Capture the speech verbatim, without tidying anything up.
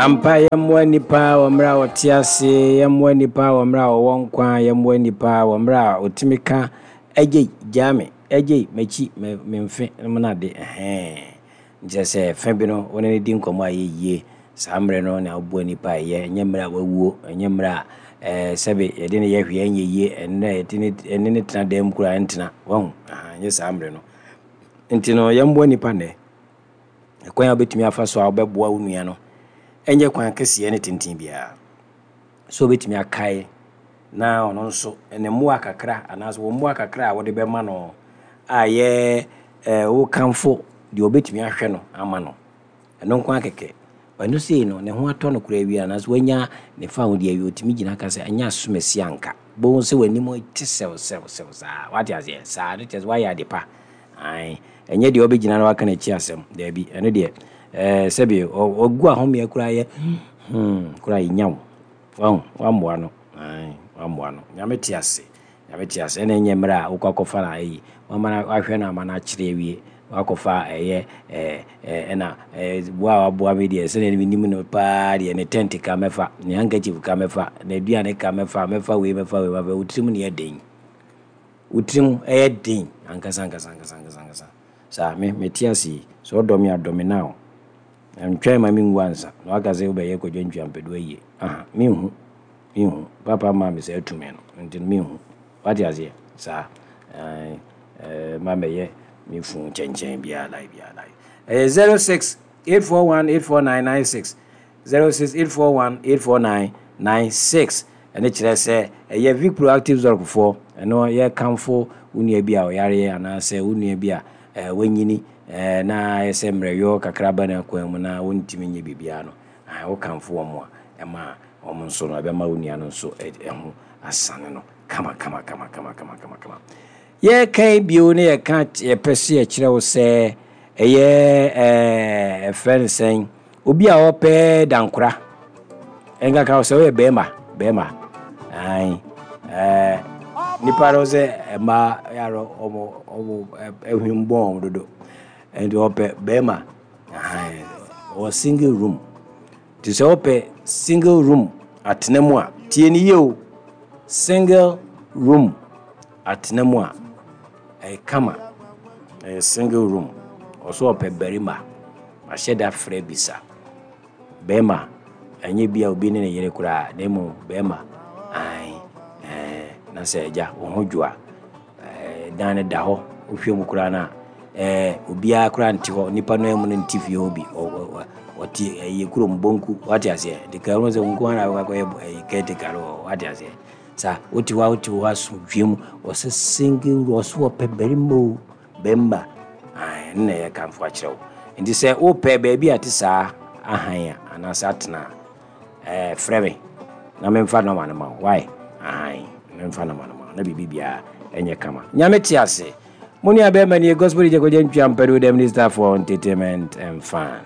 Ampa, yɛmmoa nnipa wɔ mmerɛ a wɔte ase, yɛmmoa nnipa wɔ mmerɛ a wɔwɔ nkwa, yɛmmoa nnipa wɔ mmerɛ a wɔtumi ka agyei, gyaa me, agyei, m'akyi, me me mfe nom no ade, ɛhɛn. Nkyerɛ sɛ fa bi no, wo ne no di nkɔmmɔ a ɛyɛ yie. Saa mmerɛ no na woboa nnipa a ɛyɛ, ɛnyɛ mmerɛ a wawuo, ɛnyɛ mmerɛ a ɛɛ sɛbe yɛde no yɛ hwee ɛnyɛ yie, ɛnnɛ yɛde ne ɛne no tena dan mu koraa ɛntena. Wahu? Aha, ɛnyɛ saa mmerɛ no. Nti no, yɛmmoa nnipa nnɛ. Ɛkwan a wobɛtumi afa so a wobɛboa wo nua no, ɛnyɛ kwan kɛseɛ ne tenten biara. Sɛ wobɛtumi akae na ɔno nso ne mmoa kakra anaasɛ wɔn mmoa kakra a wɔde bɛma no a yɛ ɛɛ wokamfo deɛ wobɛtumi ahwɛ no ama no. Ɛno nko ara kɛkɛ. Ɛno sei no, ne ho atɔ no koraa awie anaasɛ wanya ne fa ho deɛ awie, ɔtumi gyina ka sɛ ɛnyɛ asomasi anka. Bohu sɛ w'anim te sɛw sɛw sɛw saa. Wate aseɛ? Saa no kyerɛ sɛ woayɛ ade pa. Ae. Ɛnyɛ deɛ ɔbɛgyina na waka n'akyi asɛm. Daabi. Ɛno deɛ, ɛɛ sɛbi ɔgu ahomeɛ koraa yɛ hmm koraa yɛnya wo. Wahu? Wammoa no. Ae. Wammoa no. Nyame te ase. Nyame te ase. Ɛna ɛnyɛ mmerɛ a wokɔ akɔfa no ayi. Wama no wahwɛ no ama no akyerɛ awie. Wakɔfa ɛyɛ ɛɛ ɛna ɛɛ boa a waboa me deɛ, sɛdeɛ menim no paa deɛ, ne tent ka mɛfa, ne handkerchief ka mɛfa, n'aduane ka mɛfa, mɛfa wei, mɛfa wei, mɛfa. Wo tirim ne yɛ den. Wo tirim ɛyɛ den ankasa ankasa ankasa ankasa ankasa. Saa me mete ase yi. Sɛ ɔdɔ me a, dɔ me now. Ntwɛn ma menwu ansa. Na waka sɛ wobɛyɛ Kwadwo Ntwiampɛdo ayie. Aha, menhu. Menhu. Papa maa me saa tumi no. Nti no menhu. Wate aseɛ? Saa. Ɛɛ ɛɛ ma mɛyɛ me fun nkyɛnkyɛn biara lai biara lai. Ɛyɛ zero six eight four one eight four nine nine six, zero six eight four one eight four nine nine six. Ɛno kyerɛ sɛ ɛyɛ Vic Proactive Zɔrkfoɔ. Ɛno yɛkamfo wo nua bi a ɔyareɛ anaasɛ wo nua bi a ɛɛ wanyini ɛɛ na ayɛ sɛ mmerɛyɔ kakra ba n'akwan mu na wɔntumi nyɛ biribiara no. Ɛɛ wokamfo wɔn a, ɛma wɔn nso no ɛbɛma wo nua no nso ɛho asane no kama kama kama kama kama kama kama. Yɛka bio ne yɛka yɛpɛ sɛ yɛkyerɛ wo sɛ ɛyɛ ɛɛ ɛfrɛ no sɛn, obi a ɔpɛ dankora ɛnkaka wo sɛ woyɛ bɛrima bɛrima ae ɛɛ nipa no sɛ mmaa yɛarɔ ɔmo ɔmo ɛhwim bɔn ɔmo dodo, nti ɔpɛ bɛrima ae ɔwɔ single room. Nti sɛ wopɛ single room atena mu a, tie ne yie o, single room atena mu a ɛyɛ kama, ɛyɛ single room. Ɔso ɔpɛ barima, ahyɛ da frɛ bisa bɛrima, ɛnyɛ bi a obi ne ne yere koraa, na mmom bɛrima ae. Ɛɛ na sɛ agya wo ho dwo a, ɛɛ dan no da hɔ, wohwɛ mu koraa no a, ɛɛ obiara koraa nte hɔ, nipa no mu no nte fie hɔ bi, ɔte ɛyɛ kurom bonku. Wate aseɛ? Nti ka ho sɛ wo nko ara na wobɛkɔ akɔyɛ ɛyɛ caretaker no wɔ hɔ. Wate aseɛ? Saa wote hɔ a, wote hɔ asomdwie mu. Ɔsɛ single room, ɔso ɔpɛ barima o, bɛrima ae, ɛno na ɛyɛ kamfo akyerɛ wo. Nti sɛ wopɛ baabi a te saa ahan a anaasɛ atena a, ɛɛ frɛ me na memfa nɔma no ma wo. Wae ahan, memfa nɔma no ma wo na biribi biara ɛnyɛ kama. Nyame te ase. Mo nua bɛrima nie, Gospel D J Kwadwo Ntwiampɛdo, the minister for entertainment and fun.